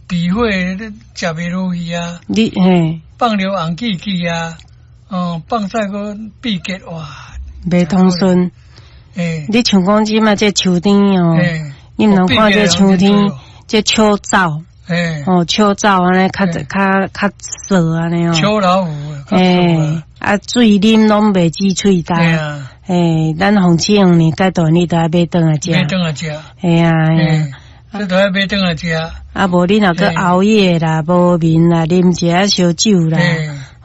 脾火你食袂落去啊，你嘿，放尿紅氣氣啊，哦，放屎閣秘結哇，袂通順。欸，你像講這馬這秋天哦，你毋通看這秋天這秋燥，哦，秋燥按呢較較較燥按呢哦。秋老虎，欸，啊水啉攏袂止喙焦。欸，咱紅刺黃連解毒你都愛買轉來食。買轉來食。嘿啊，嘿啊。這都愛買轉來食。啊，無你若閣熬夜啦、無眠啦、啉一下燒酒啦，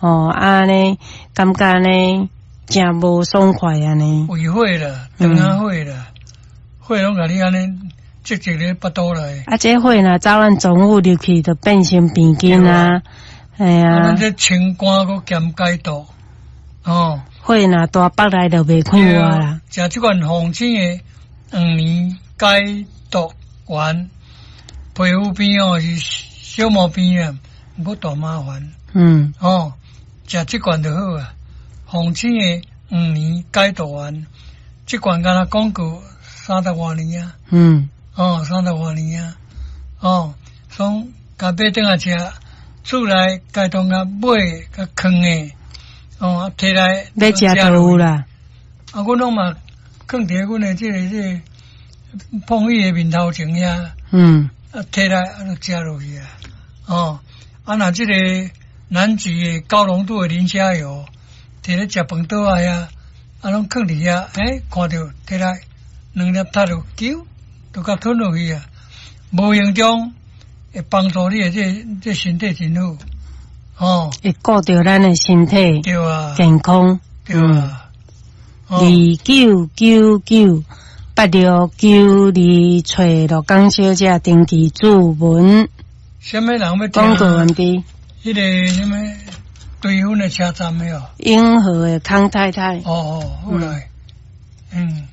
哦，按呢感覺呢誠無爽快按呢。胃火啦，腸仔火啦，火攏共你按呢積積咧腹肚內。啊，這火若走咱臟腑入去，就變成病菌啊，嘿啊。咱這清肝閣兼解毒，哦。火若大腹內就袂快活啦。食這款鳳青的黃連解毒丸，皮膚病哦是小毛病啊，無大麻煩。哦，食這款就好啊。鳳青的黃連解毒丸，這款敢若廣告三十外年啊。哦，三十外年啊。哦，所以共買轉來食，厝內家當共買共囥的。哦，提來欲食就有啦。啊，阮攏嘛囥佇阮的這個碰椅的面頭前遐。啊，提來啊，就食落去啊。哦，啊，若這個南極的高濃度的磷蝦油，提咧食飯桌仔遐，啊，攏囥佇遐，欸，看著提來兩粒踢落，揪，就共吞落去啊。無形中會幫助你的這身體真好。哦，會顧著咱的身體健康。對啊。29998692，揣鹿港小姐登記注文。啥物人欲聽？廣告完畢。彼個啥物對分的車站的哦。永和的康太太。哦哦，好來，嗯。